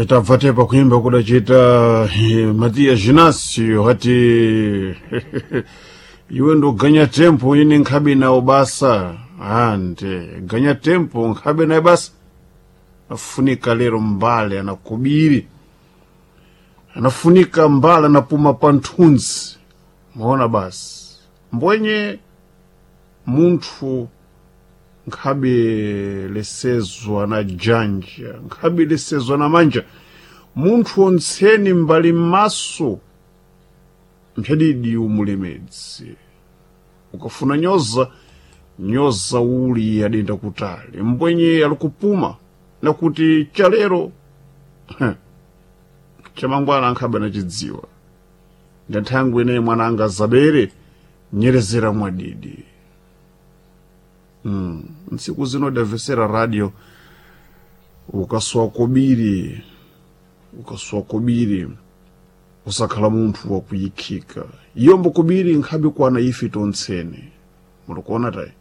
Tabva tepa kuimba kudachita Matiya Ginasio hati iwe ndoganya tempo ine nkhabe nawo basa ande ganya tempo nkhabe naye basa afunika lero mbale anakubiri anafunika mbale anapuma panthunzi maona basi mbwenye munthu nkhabe lesezwa na janja nkhabe lesezwa na manja munthu ontseni mbali m'maso mphedidi umulemedzi ukafuna nyoza nyoza uli adenda kutali mbwenye alikupuma nakuti chalero chamangwana ankhabe anachidziwa ndanthangwi ineyi mwana anga zabere nyerezera mwadidi ntsiku zino davesera radio ukaswa kobiri ukaswa kobiri usakhala munthu wakuyikhika iyombo kobiri nkhabe kwana ife tontsene mulikuona tayi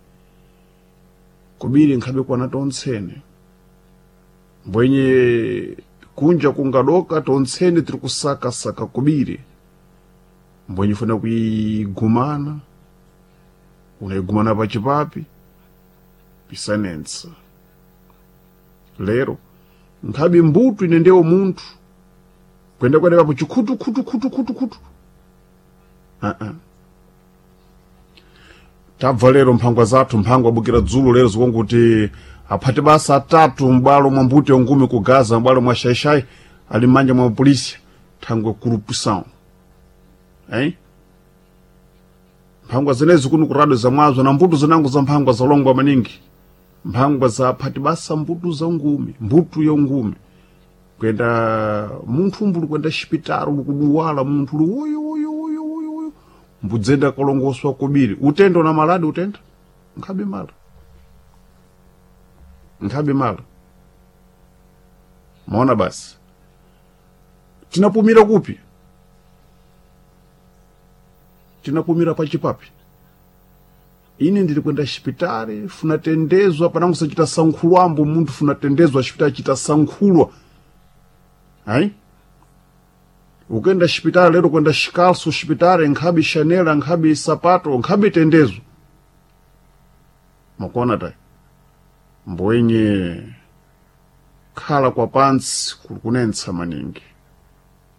kobiri nkhabe kwana tontsene mbwenye kunja kungadoka tontsene tiri kusakasaka kobiri mbwenye funa kuyigumana unayigumana pachipapi pisanensa lero nkhabe mbutu ine ndewo munthu kwenda kwenda papo chikhutu khutu khutu khutu khutu uh-uh. Tabva lero mphangwa zathu mphangwa abukira dzulo lero zikonguti aphate basa atatu m'bwalo mwa mbuto yongumi ku Gaza m'bwalo mwa shaishai ali m'manja mwa polisi thangwe corrupção eh? Mphangwa zenezi kuno kurado zamwazo na mbuto zinango za mphangwa zalongwa maningi mphangwa za aphati basa mbuto za ngumi mbuto ya ngumi kwenda munthu mbuli kwenda xipitalo likuduwala munthu uli uyu uyu uyu uyu uyu mbudzenda kalongoswa kubiri utenda una maladi utenda nkhabe mala nkhabe mala maona basi tinapumira kupi tinapumira pachipapi ine ndiri kwenda xipitali funatendezwa panango sachita sankhulwambo munthu funatendezwa xipitali chita sankhulwa ayi ukenda xipitali lero kwenda xikalso xipitali nkhabe xanela nkhabe sapato nkhabe tendezo makuona tayi mbwenye khala kwa pansi kuli kunentsa maningi.